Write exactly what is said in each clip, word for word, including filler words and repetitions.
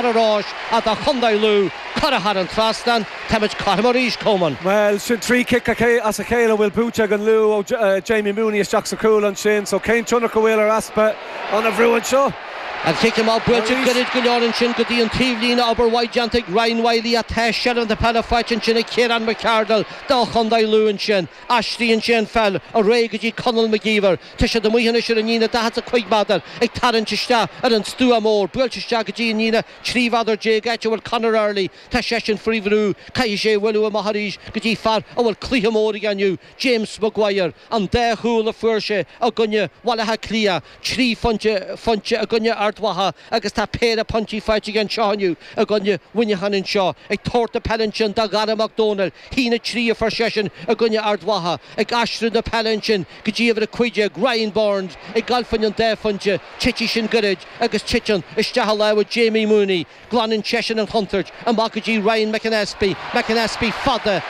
Ar ais do Chontae Lú, curtha thar an trasnán, táimid cothrom arís, Coman. Bhuel, sin trí chic as a chéile a bhfuil buaite ag an Lú ó Jamie Mooney isteach sa chúl ansin, so cén tionchar a bhfuil ar easpa an bhrú anseo? An cic amach buailte gairid go leor ansin go dtí an taobhlíne, obair mhaith déanta ag Ryan Wylie ach tá seilbh na peile faighte ansin ag Ciarán McArdle do Chontae Lú ansin. Aistríonn sé an pheil ar aghaidh go dtí Conall McGeever. Tá siad amuigh anois ar an líne daichead is a cúig méadar ag tarraingt isteach ar an stua mór. Buailte isteach go dtí an líne trí mhéadar déag áit a bhfuil Conor Early. Tá seisean faoi bhrú. Caithfidh sé a bhualadh amach arís go dtí fear a bhfuil cluiche mór aige inniu, James Maguire. An dá chúl a fuair sé i gcoinne Bhaile Átha Cliath, trí phointe phointe i gcoinne Ard Mhacha agus tá péire pointí faighte aige anseo inniu i gcoinne Mhuineacháin anseo. Ag tabhairt na peile ansin do Dhara Mac Dónaill. haon a trí a fuair seisean i gcoinne Ard Mhacha. Ag aistriú na peile ansin go dtí uimhir a cúig déag, Ryan Burns, ag gabháil fá choinne an dá phointe. Titfidh sin gairid agus titeann isteach i lámha Jamie Mooney. Glanann seisean an chontúirt amach go dtí Ryan McAnespie. McAnespie fada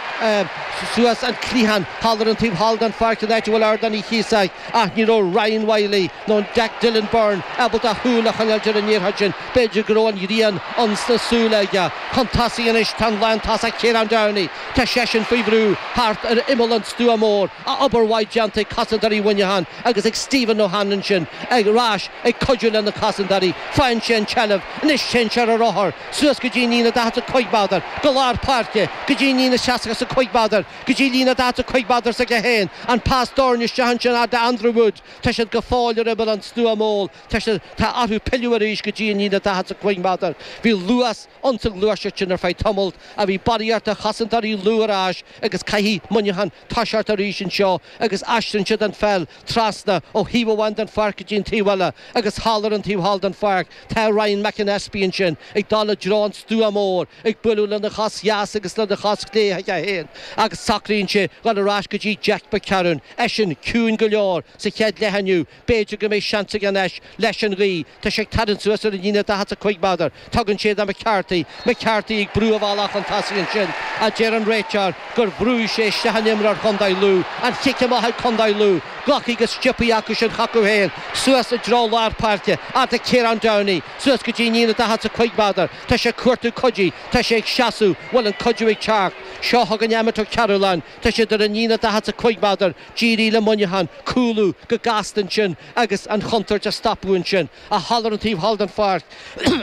suas an cliathán thall ar an taobh thall den pháirc an áit a bhfuil Ardán Uí Chíosóg ach ní raibh Ryan Wylie nó Jack Dylan Byrne ábalta a shúil a choinneáilt ar an liathróid sin. B'fhéidir go raibh an ghrian ins na súile aige. Chun tosaigh anois tá an lántosach Ciarán Downey. Tá seisean faoi bhrú thart ar imeall an stua mór. Obair mhaith déanta ag cosantóirí Mhuineacháin agus ag Stephen O'Hanlon sin ar ais ag cuidiú lena chosantóirí. Faigheann sé an tseilbh. Anois téann sé ar a rothar suas go dtí an líne daichead is a cúig méadar, go lár páirce, go dtí an líne seasca is a cúig méadar, go dtí líne daichead is a cúig méadar s'aige féin. An pas dorn isteach ansin fhad le Andrew Wood. Tá siad go fóill ar imeall an stua mór. Tá siad, tá orthu pilleadh arís go dtí an líne daichead is a cúig méadar. Bhí luas ins an ghluaiseacht sin ar feadh tamaill ach bhí barraíocht de chosantóirí Lú ar ais agus caithfidh Muineachán toiseacht arís anseo agus aistríonn siad an pheil trasna ó thaobh amháin den pháirc go dtí an taobh eile agus thall ar an taobh thall den pháirc tá Ryan McAnespie ansin ag dul i dtreo an stua mór ag bualadh lena chos dheas agus lena chos chlé aige féin agus socraíonn sé dhul ar ais go dtí Jack McCarron, eisean ciúin go leor sa chéad leath inniu, b'fhéidir go mbeidh seans aige anois leis an ghaoth. Tá sé ag tarraingt suas ar an líne daichead is a cúig méadar. Tugann sé do McCarthy. McCarthy ag brú a bhealach chun tosaigh ansin ach deir an réiteoir gur bhrúigh sé isteach in imreoir Chontae Lú. An chic amach ag Contae Lú. Glactha go sciobtha acu sin chucu féin. Suas i dtreo lár páirce. Fhad le Ciarán Downey. Suas go dtí an líne daichead is a cúig méadar. Tá sé ag cuartú cuidí. Tá sé ag seasamh. Bhfuil an cuidiú ag teacht? Seo chugainn Emmet Ó Cearúlláin. Tá siad ar an líne daichead is a cúig méadar. D'éirigh le Muineachán cúlú go gasta ansin agus an chontúirt a stopadh ansin. Ach thall ar an taobh thall den pháirc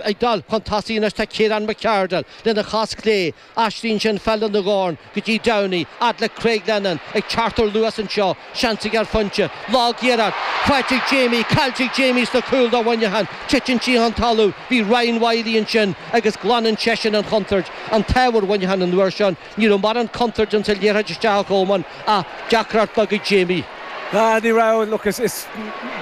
ag dul chun tosaigh anois tá Ciarán McArdle lena chos chlé. Aistríonn sé an pheil lena dhorn go dtí Downey, fhad le Craig Lennon ag teacht ar luas anseo. Seans aige ar phointe. Lag-iarracht faighte ag Jamie, caillte ag Jamie sna cúil do Mhuineachán. Titeann sí chun talamh. Bhí Ryan Wylie ansin agus glanann seisean an chontúirt. An t-ádh ar Mhuineachán an uair seo. Ní raibh mórán contúirt ins an liathróid isteach a Chomáin ach deacracht beag ag Jamie. Ah, ní raibh, look, is, is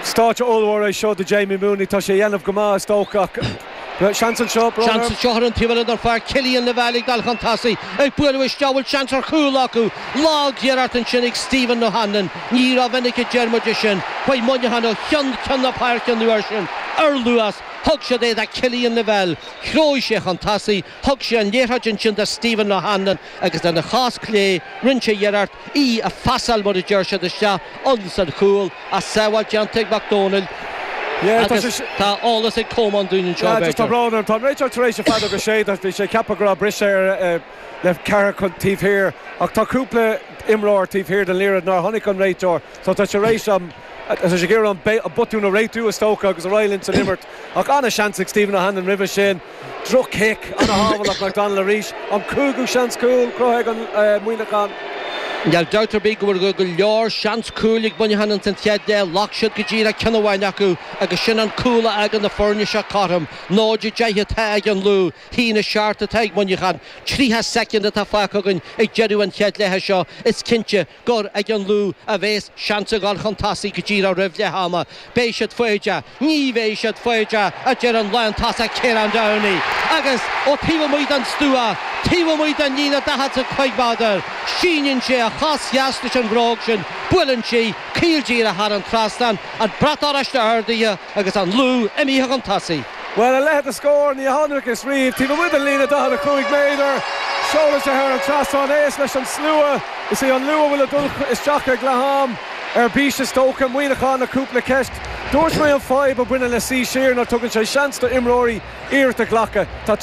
stáitse ollmhór é seo do Jamie Mooney, tá sé a dhéanamh go maith is dócha ach seans anseo, brón Seans orm. anseo ar an taobh eile den pháirc, Cillian Lavelle ag dul chun tosaigh, ag bualadh isteach, bhfuil seans ar chúl acu? Lag-iarracht ansin ag Stephen O'Hanlon, ní rómhinic a deir muid é sin, chuaigh Muineachán ó cheann ceann na páirce an uair sin ar luas, thug siad é do Cillian Lavelle, threabh sé chun tosaigh, thug sé an liathróid ansin do Stephen O'Hanlon agus lena chos chlé rinne sé iarracht í a phasáil mar a deir siad isteach ins an chúl ach sábháil déanta ag Mac Dónaill Yeah, tá agus sé tá eolas ag Comán dúinn anseo Yeah, just tá b'fhéidir. brón orm. Tá an réiteoir tar éis an fheadóg a séideadh, bhí sé ag ceapadh go raibh briseadh ar le ceathrar chun taobh thiar ach tá cúpla imreoir taobh thiar den liathróid nár chonaic an réiteoir so tá sé tar éis an tá sé ag iarraidh an botún a réitiú is dócha agus ar aghaidh linn san imirt ach an-seans ag Stephen O'Hanlon roimhe sin. Droch-chic, an-shábháil McDonald arís, an cúigiú seans cúil cruthaithe ag an Muineachán. Níl dabht ar bith go bhfuil go leor seans cúil ag Muineachán ins an chéad leath, ghlac siad go díreach ceann amháin acu agus sin an cúl a fhágann na foirne seo cothrom. Náid a deich atá ag an Lú, haon a seacht atá ag Muineachán. Tríocha soicind atá fágtha againn ag deireadh an chéad leatha seo. Is cinnte gur ag an Lú a bheas seans a dhul chun tosaigh go díreach roimh leath ama. Beidh siad foighdeach. Ní bheidh siad foighdeach, a deir an lántosach Ciarán Downey. Agus ó taobh amuigh den stua, taobh amuigh den líne daichead is a cúig méadar, síneann sé a chos dheas leis an bhróg sin, buaileann sí caol díreach thar an trasnán, an brat oráiste ardaithe agus an Lú imithe chun tosaigh. Bhuel, a leithéid de scór, ní chonacthas riamh, taobh amuigh den líne daichead a cúig méadar, seolann sé thar an trasnán é leis an slua. Is é an Lú a bhfuil ag dul isteach ag leath-am ar bís is dócha, Muineachán le cúpla ceist. Dúirt mé an fhadhb a bhaineann le suí siar ná tugann sé seans do imreoirí iarracht a ghlacadh. Tá